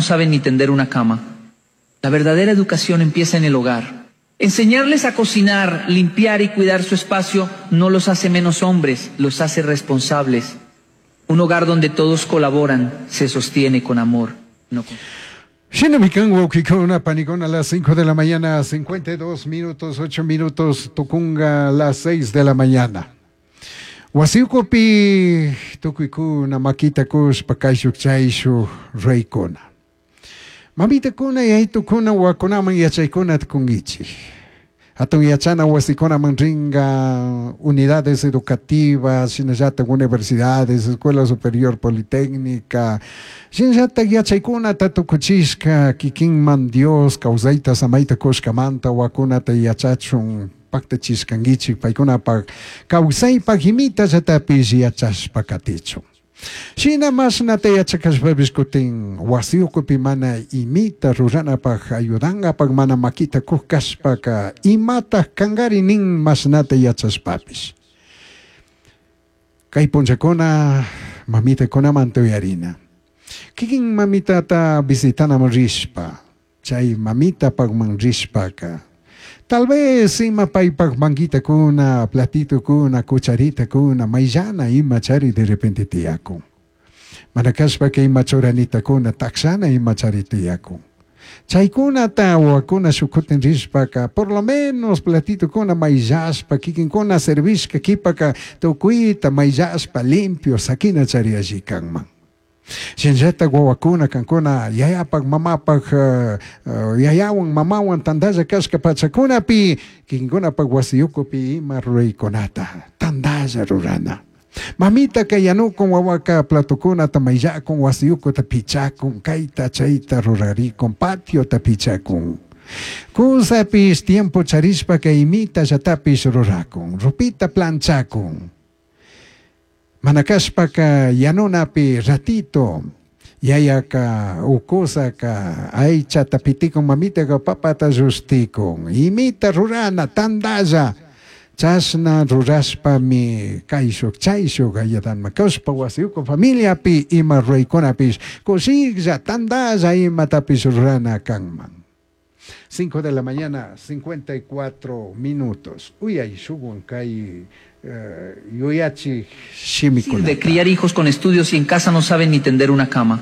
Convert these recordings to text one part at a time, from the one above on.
saben ni tender una cama. La verdadera educación empieza en el hogar. Enseñarles a cocinar, limpiar y cuidar su espacio no los hace menos hombres, los hace responsables. Un hogar donde todos colaboran se sostiene con amor, no con... Shinami kan wawkikuna panikuna a las 5 de la mañana, 52 minutos, 8 minutos, tukunga a las 6 de la mañana. Wasiukupi tukuykuna makita kushpa kayshuk chayshuk reykuna. Mamitakuna yaytukuna wawakunaman yachaykunata kunkichik. Hatun yachana wasikunaman ringa unidades educativas, shinallatak universidades, Escuela Superior Politécnica, shinallatak yachaykunata tukuchishka kikinman Dios kawsayta samayta kushkamanta wawakunata yachachun paktachishkankichik paykunapak kawsaypak imitallatapish yachashpa katichun. Shina mashnata yachakashpapish kutin wasi ukupi mana imita ruranapaj ayudangapak mana makita kuj kashpaka imataj kangari nin mashnata yachashpapish. Kay punllakuna mamitakunamanta uyarina. Kikin mamitata visitanaman rishpa, chay mamitapakman rishpaka, tal vez ima paypak manguitakuna, platitukuna, cucharitakuna, mayllana ima chari de repente tiyakun. Mana kashpaka ima churanitakuna, takshana ima chari tiyakun. Chaykunata wawakuna shuk kutin rishpaka, por lo menos platitukuna mayllashpa, kikinkuna servishka kipaka tukuyta mayllashpa limpio sakina chari alli kanman. Shinallatak wawakuna kankuna yayapak mamapak yayawan mamawan tantalla kashka pachakunapi kikinkunapak wasiyukupi ima ruraykunata tantalla rurana. Mamitaka yanukun wawaka platokunata mayllakun wasiyukuta pichakun kayta chayta rurarikun patiota pichakun. Kusapish tiempo charishpaka imitallatapish rurakun ropita planchakun. Mana kashpaka yanunapi ratito yayaka ukusaka aychata pitikun mamitaka papata llushtikun imita rurana tantalla chashna rurashpami kayshuk chayshuk ayadanma kashpa wasiyuku familiapi ima ruraykunapish kushiklla tantalla imatapish rurana kanman. 5 de la mañana, 54 minutos. Uyay shukwan kay yuyachik shimikunata. De criar hijos con estudios y en casa no saben ni tender una cama.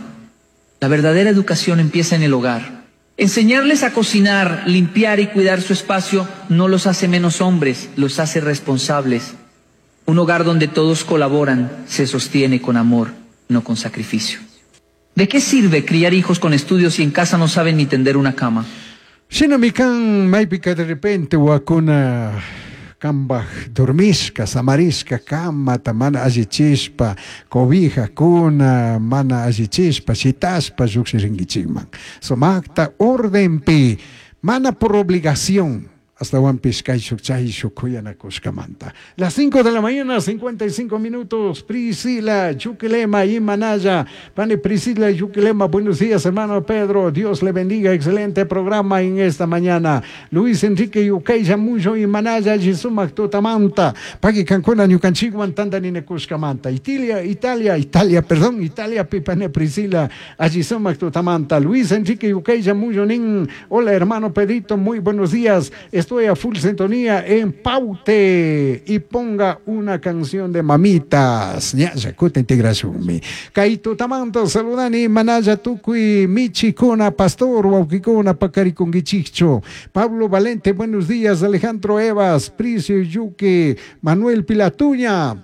La verdadera educación empieza en el hogar. Enseñarles a cocinar, limpiar y cuidar su espacio no los hace menos hombres, los hace responsables. Un hogar donde todos colaboran se sostiene con amor, no con sacrificio. ¿De qué sirve criar hijos con estudios si en casa no saben ni tender una cama? Shinami kan maypika de repente wawakuna kambaj dormishka, samarishka kamata mana allichishpa, cobijakuna mana allichishpa, shitashpa llukshirinkichikman. Sumakta ordenpi, mana por obligación, astawanpish kayshuk chayshuk kuyanakushkamanta. Las 5 de la mañana, 55 minutos, Priscila Yuquilema y Manaya. Pani Priscila Yuquilema, buenos días, hermano Pedro. Dios le bendiga, excelente programa en esta mañana. Luis Enrique Yucaya Muyo y Manaya, Jisumak Tutamanta. Paqui Cancuna, Ñucanchiguan, Tandaninakushkamanta. Italia, Italia, Italia, perdón, Italia, Pipane Priscila, Ajisumak Tutamanta. Luis Enrique Yucaya Muyo Nin. Hola, hermano Pedrito, muy buenos días. Estoy a full sintonía en Paute y ponga una canción de mamitas. Ya, yakuta integración. Kaito tamanto saludani manaya tukui michikuna pastor wawkikuna pakarikungichicho. Pablo Valente, buenos días. Alejandro Evas, Prisio Yuque, Manuel Pilatuña.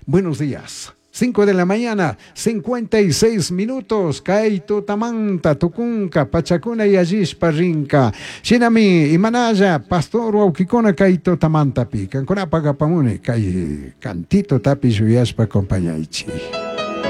Buenos días. 5 de la mañana, 56 minutos. Kaito Tamanta, Tucunca, Pachacuna y Allishpa Rinca. Shinami, Imanaya, Pastor Wauquicona, Kaito Tamanta Pi. Cancuna Pagapamune, Kai Cantito Tapi Yuyashpa, compañaichi.